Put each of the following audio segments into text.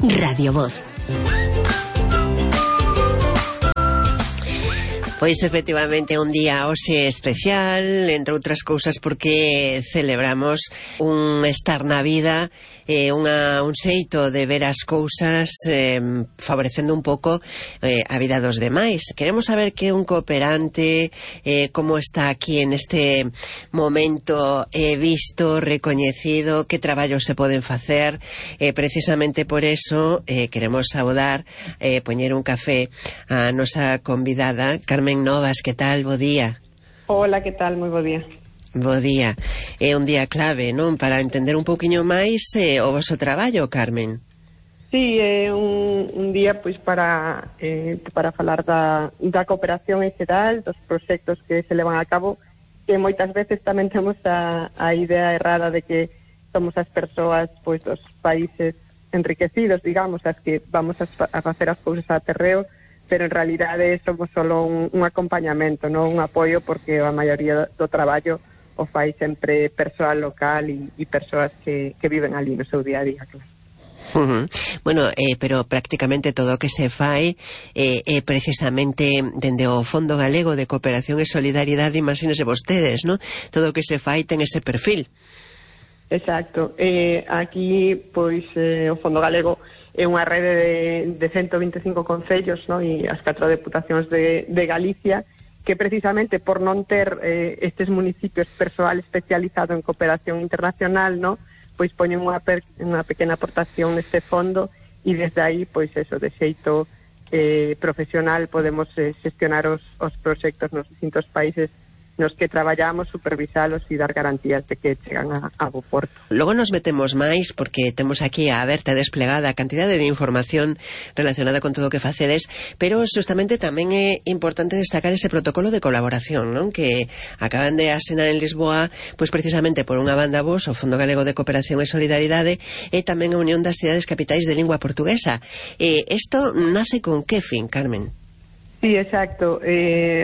Radio Voz. Pois efectivamente un día hoxe especial, entre outras cousas porque celebramos un estar na vida, un xeito de ver as cousas favorecendo un pouco a vida dos demais. Queremos saber que un cooperante, como está aquí en este momento visto, recoñecido, que traballos se poden facer. Precisamente por eso queremos saudar, poñer un café a nosa convidada, Carmen Novas. Que tal? Bo día. Hola, que tal? Moi bo día. Bo día. É un día clave, non? Para entender un pouquiño máis o vosso traballo, Carmen. Sí, é un día pois para falar da cooperación en xeral, dos proxectos que se levan a cabo, que moitas veces tamén temos a idea errada de que somos as persoas pois dos países enriquecidos, digamos, as que vamos a facer as cousas a terreo, pero en realidade somos solo un acompañamento, non un apoio, porque a maioría do traballo o fai sempre persoal local e persoas que viven ali no seu día a día, claro. Bueno, pero prácticamente todo o que se fai é precisamente dende o Fondo Galego de Cooperación e Solidaridade, imagínese vostedes, non? Todo o que se fai ten ese perfil. Exacto. Aquí, pois, o Fondo Galego é unha rede de 125 concellos, no? E as 4 deputacións de Galicia, que precisamente por non ter estes municipios persoal especializado en cooperación internacional, no? Pois poñen unha pequena aportación neste fondo, e desde aí, pois eso, de xeito profesional podemos xestionar os proxectos nos distintos países nos que traballamos, supervisalos e dar garantías de que chegan a bo porto. Logo nos metemos máis porque temos aquí a aberta e desplegada a cantidade de información relacionada con todo o que facedes, pero justamente tamén é importante destacar ese protocolo de colaboración, non? Que acaban de asinar en Lisboa, pois precisamente por unha banda vos, o Fondo Galego de Cooperación e Solidaridade, e tamén a Unión das Cidades Capitais de Lingua Portuguesa. Isto nace con que fin, Carmen? Sí, exacto.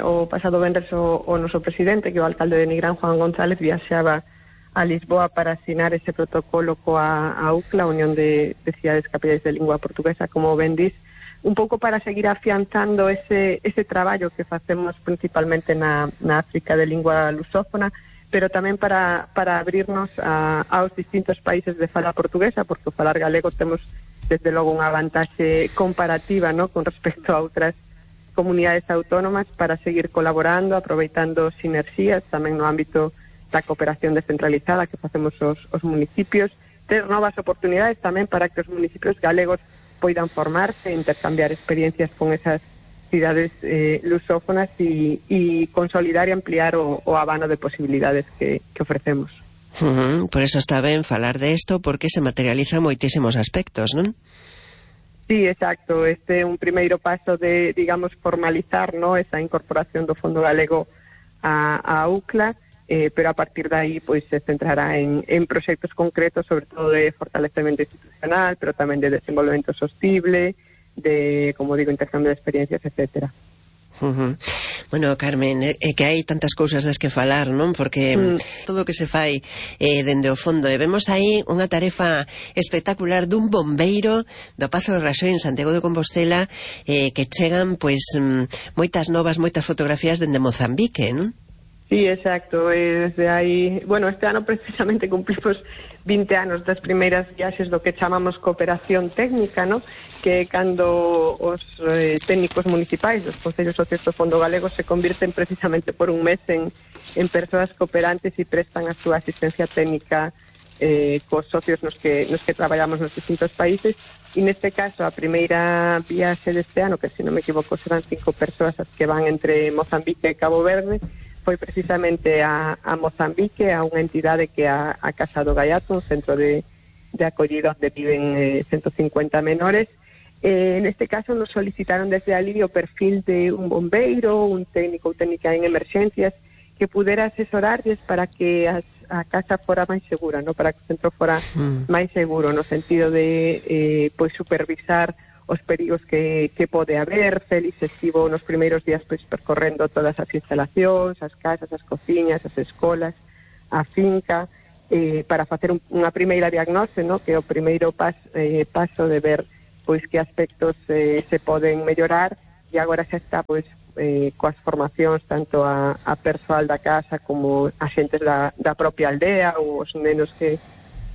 O pasado venres o noso presidente, que é o alcalde de Nigrán, Juan González, viaxaba a Lisboa para asinar ese protocolo coa UCLA, a Unión de Cidades Capitais de Lingua Portuguesa, como ben dis, un pouco para seguir afianzando ese traballo que facemos principalmente na África de lingua lusófona, pero tamén para abrirnos aos distintos países de fala portuguesa, porque o falar galego temos desde logo unha vantaxe comparativa, ¿no?, con respecto a outras comunidades autónomas, para seguir colaborando, aproveitando sinerxías tamén no ámbito da cooperación descentralizada que facemos os municipios, ter novas oportunidades tamén para que os municipios galegos poidan formarse, intercambiar experiencias con esas cidades lusófonas e consolidar e ampliar o abano de posibilidades que ofrecemos. Por eso está ben falar de isto, porque se materializan moitísimos aspectos, non? Sí, exacto. Este é un primeiro paso de, digamos, formalizar, ¿no?, esa incorporación do Fondo Galego a UCLA, pero a partir de aí, pois, se centrará en proxectos concretos, sobre todo de fortalecemento institucional, pero tamén de desenvolvemento sostible, de, como digo, intercambio de experiencias, etcétera. Bueno, Carmen, é que hai tantas cousas das que falar, non? Porque todo o que se fai dende o fondo, e vemos aí unha tarefa espectacular dun bombeiro do Pazo de Raxoi en Santiago de Compostela, que chegan, pois, moitas novas, moitas fotografías dende Mozambique, non? Sí, exacto. Desde aí, bueno, este ano precisamente cumplimos 20 anos das primeiras viaxes do que chamamos cooperación técnica, ¿no?, que cando os técnicos municipais dos concellos socios do Fondo Galego se convirten precisamente por un mes en persoas cooperantes e prestan a súa asistencia técnica cos socios nos que traballamos nos distintos países. E neste caso, a primeira viaxe deste ano, que se non me equivoco serán 5 persoas as que van entre Mozambique e Cabo Verde, foi precisamente a Mozambique, a unha entidade que é a Casa do Gaiato, un centro de acollida onde viven 150 menores. Neste caso nos solicitaron desde ali o perfil de un bombeiro, un técnico ou técnica en emerxencias que pudera asesorarles para que a casa fora máis segura, ¿no?, para que o centro fora máis seguro, no sentido de pois supervisar os perigos que pode haber. Félix estivo nos primeiros días pois percorrendo todas as instalacións, as casas, as cociñas, as escolas, a finca, para facer unha primeira diagnose, ¿no?, que é o primeiro paso de ver pois que aspectos se poden mellorar, e agora xa está pois coas formacións tanto a persoal da casa como a xentes da propia aldea ou os nenos que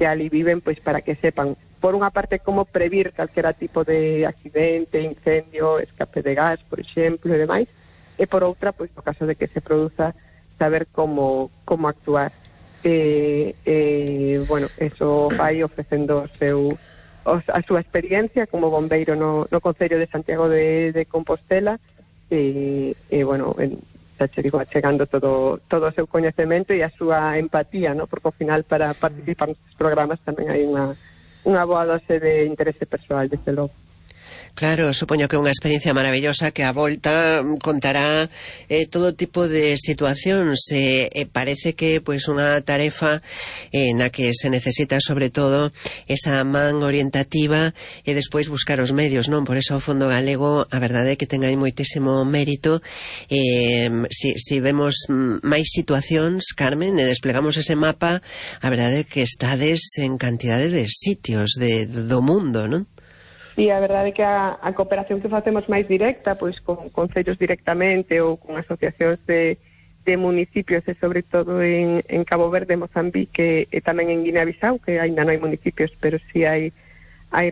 ali viven, pois para que sepan, por unha parte, como previr calquera tipo de accidente, incendio, escape de gas, por exemplo, e demais, e por outra, pois no caso de que se produza, saber como actuar. Bueno, eso vai ofrecendo a súa experiencia como bombeiro no Concello de Santiago de Compostela, e bueno, xa che digo, achegando todo o seu coñecemento e a súa empatía, ¿no? Porque ao final para participar nestes programas tamén hai unha boa dose de interese persoal, desde logo. Claro, supoño que é unha experiencia maravillosa que a volta contará todo tipo de situacións. Parece que pois unha tarefa na que se necesita sobre todo esa man orientativa e despois buscar os medios, non? Por eso o Fondo Galego, a verdade é que ten aí moitísimo mérito. Si vemos máis situacións, Carmen, e desplegamos ese mapa, a verdade é que estades en cantidade de sitios do mundo, non? E a verdade é que a cooperación que facemos máis directa, pois con concellos directamente ou con asociacións de municipios, e sobre todo en Cabo Verde, Mozambique e tamén en Guinea-Bissau, que aínda non hai municipios, pero sí hai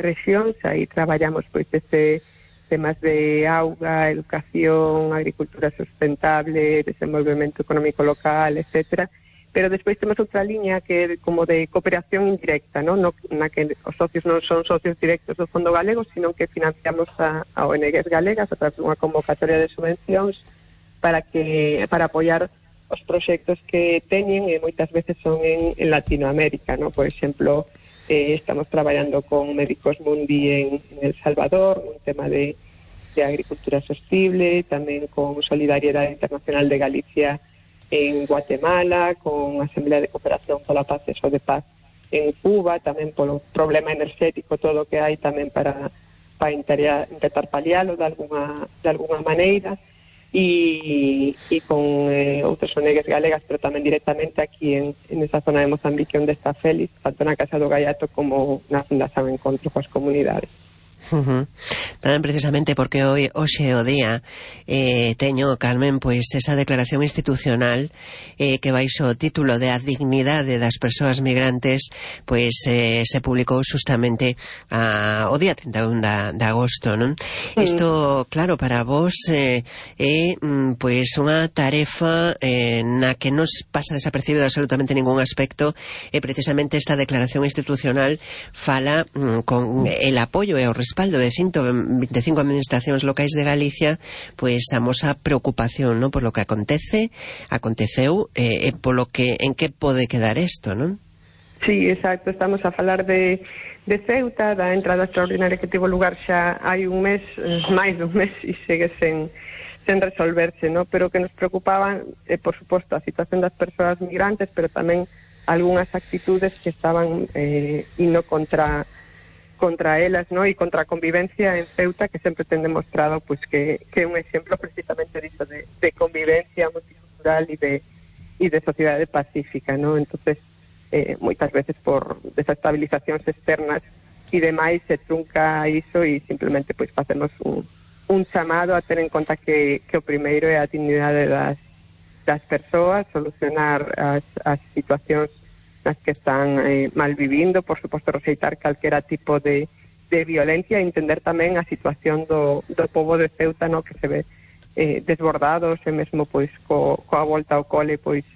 rexións. Aí traballamos pois desde temas de auga, educación, agricultura sustentable, desenvolvemento económico local, etcétera. Pero despois temos outra liña que é como de cooperación indirecta, ¿no? Na que os socios non son socios directos do Fondo Galego, sino que financiamos a ONGs galegas a través dunha convocatoria de subvencións para apoiar os proxectos que teñen, e moitas veces son en Latinoamérica, ¿no? Por exemplo, estamos traballando con Médicos Mundi en El Salvador, un tema de agricultura sostible, tamén con Solidariedade Internacional de Galicia en Guatemala, con a Asamblea de Cooperación pola Paz e de Paz en Cuba, tamén polo problema enerxético, todo o que hai tamén para intentar palialo de alguna maneira, e con outras ONGs galegas, pero tamén directamente aquí en esa zona de Mozambique onde está Félix, tanto na Casa do Gaiato como na Fundación Encontro coas Comunidades. Tamén precisamente porque hoxe o día teño, Carmen, pois esa declaración institucional que baixo o título de a dignidade das persoas migrantes, pois se publicou justamente o día 31 de agosto, non? Isto, claro, para vos é pois unha tarefa na que nos pasa desapercibido absolutamente ningún aspecto, e precisamente esta declaración institucional fala con el apoio e o respaldo de 125 administracións locais de Galicia, pois amosa preocupación, non, por lo que aconteceu e polo que en que pode quedar isto, non? Sí, exacto, estamos a falar de Ceuta, da entrada extraordinaria que tivo lugar xa hai un mes, máis dun mes, e segue sen resolverse, non? Pero que nos preocupaban, por suposto, a situación das persoas migrantes, pero tamén algunhas actitudes que estaban indo contra elas, ¿no? E contra a convivencia en Ceuta, que sempre ten demostrado pues que é un exemplo precisamente disso de convivencia multicultural e de sociedade pacífica, ¿no? Entonces, moitas veces por desestabilizacións externas e demais se trunca iso, e simplemente pues facemos un chamado a ter en conta que o primeiro é a dignidade das persoas, solucionar as situacións nas que están mal vivindo, por suposto rexeitar calquera tipo de violencia, e entender tamén a situación do pobo de Ceuta, no, que se ve desbordados, e mesmo pois coa volta ao cole, pois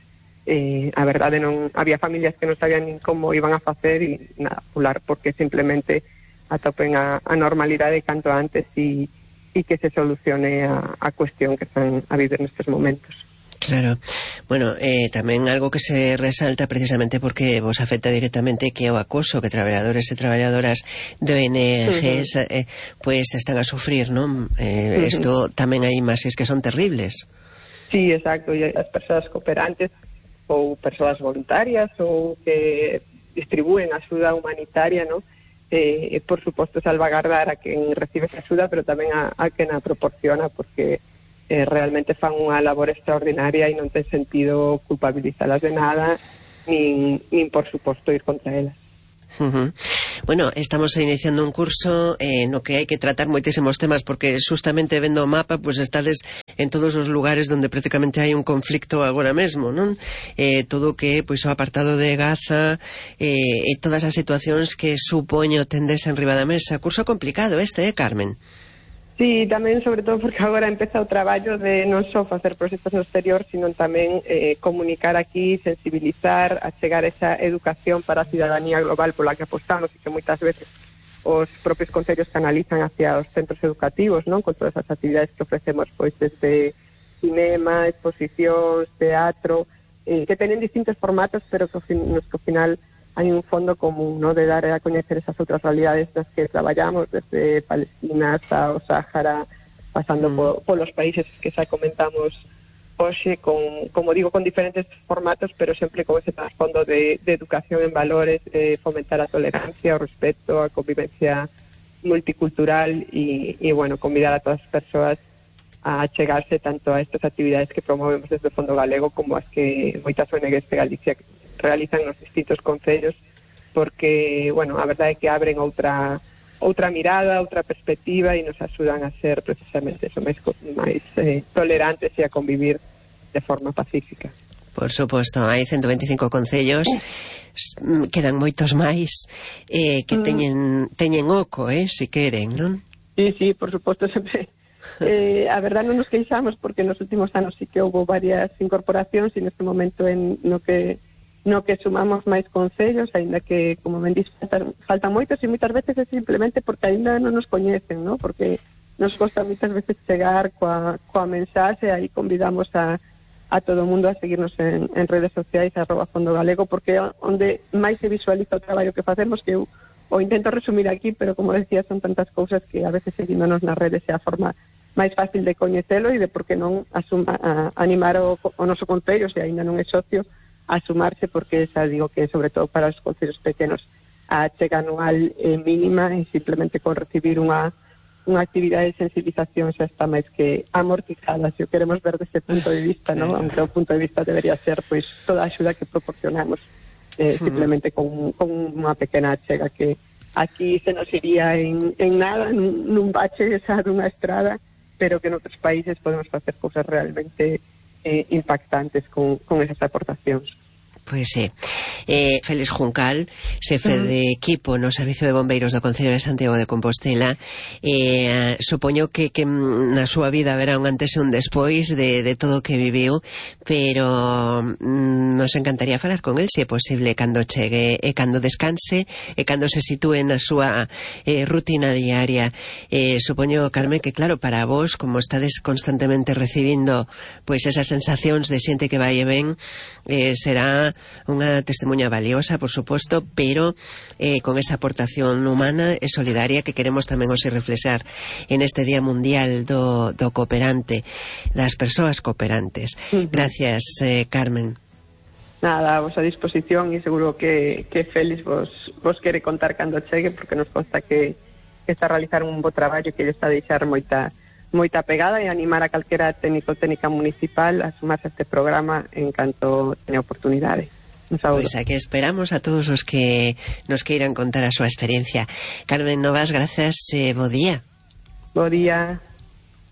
a verdade non había familias que non sabían nin como iban a facer, e nada, pular porque simplemente atopen a normalidade canto antes, e que se solucione a cuestión que están a vivir nestes momentos. Claro. Bueno, tamén algo que se resalta precisamente porque vos afecta directamente, que é o acoso que traballadores e traballadoras de ONGs pois están a sufrir, non? Isto tamén hai imaxes que son terribles. Sí, exacto, e as persoas cooperantes ou persoas voluntarias ou que distribúen axuda humanitaria, non? Por suposto salvagardar a quen recibe esa axuda, pero tamén a quen a proporciona, porque realmente fan unha labor extraordinaria e non ten sentido culpabilizalas de nada, nin por suposto ir contra elas. Bueno, estamos iniciando un curso no que hai que tratar moitísimos temas, porque justamente vendo o mapa, pois estades en todos os lugares onde prácticamente hai un conflicto agora mesmo, non? Todo o que pois o apartado de Gaza e todas as situacións que supoño tendes en riba da mesa. Curso complicado este, Carmen? Sí, tamén, sobre todo, porque agora empeza o traballo de non só facer proxectos no exterior, sino tamén comunicar aquí, sensibilizar, achegar esa educación para a cidadanía global pola que apostamos e que moitas veces os propios concellos canalizan hacia os centros educativos, non? Con todas as actividades que ofrecemos, pois desde cinema, exposicións, teatro, que teñen distintos formatos, pero que nos que ao final hai un fondo común, ¿no?, de dar a coñecer esas outras realidades nas que traballamos, desde Palestina hasta o Sáhara, pasando polos países que xa comentamos hoxe, como digo, con diferentes formatos, pero sempre con ese trasfondo de educación en valores, de fomentar a tolerancia, o respeto, a convivencia multicultural e bueno, convidar a todas as persoas a chegarse tanto a estas actividades que promovemos desde o Fondo Galego como as que moitas ONGs de Galicia realizan nos distintos concellos, porque, bueno, a verdade é que abren outra mirada, outra perspectiva e nos axudan a ser precisamente eso, máis tolerantes e a convivir de forma pacífica. Por suposto, hai 125 concellos, quedan moitos máis que teñen oco, se queren, non? Sí, por suposto, sempre. A verdade non nos queixamos, porque nos últimos anos sí que houve varias incorporacións e neste momento no que sumamos máis concellos, aínda que, como ben dís, faltan moitos e moitas veces é simplemente porque aínda non nos coñecen, ¿no? Porque nos costa moitas veces chegar coa mensaxe, aí convidamos a todo o mundo a seguirnos en redes sociais, @Fondo Galego, porque onde máis se visualiza o traballo que facemos, que eu o intento resumir aquí, pero como decía, son tantas cousas que a veces seguíndonos nas redes é a forma máis fácil de coñecelo e de por que non animar o noso concello, se aínda non é socio, a sumarse, porque xa digo que sobre todo para os concellos pequenos a chega anual mínima e simplemente con recibir unha actividade de sensibilización xa está máis que amortizada, se o queremos ver desde punto de vista, ¿no? Aunque o punto de vista debería ser pois toda a axuda que proporcionamos simplemente con unha pequena chega que aquí se nos iría en nada, nun bache xa dunha estrada, pero que en outros países podemos facer cousas realmente impactantes con esas aportacións. Pois sí. Félix Juncal, xefe de equipo no Servicio de Bombeiros do Concello de Santiago de Compostela, supoño que na súa vida haberá un antes e un despois de todo o que viviu, pero nos encantaría falar con el, se é posible, cando chegue e cando descanse e cando se sitúe na súa rutina diaria. Supoño, Carmen, que claro, para vos, como estades constantemente recibindo pois esas sensacións de xente que vai e ven, será unha testemunha valiosa, por suposto, pero con esa aportación humana e solidaria que queremos tamén hoxe reflexar en este Día Mundial do cooperante, das persoas cooperantes. Gracias, Carmen. Nada, a vosa disposición, e seguro que Félix vos quere contar cando chegue, porque nos consta que está a realizar un bo traballo que lle está a deixar moita pegada, e animar a calquera técnico técnica municipal a sumarse a este programa en canto teña oportunidade. Pois aquí esperamos a todos os que nos queiran contar a súa experiencia. Carmen Novas, grazas, bo día. Bo día.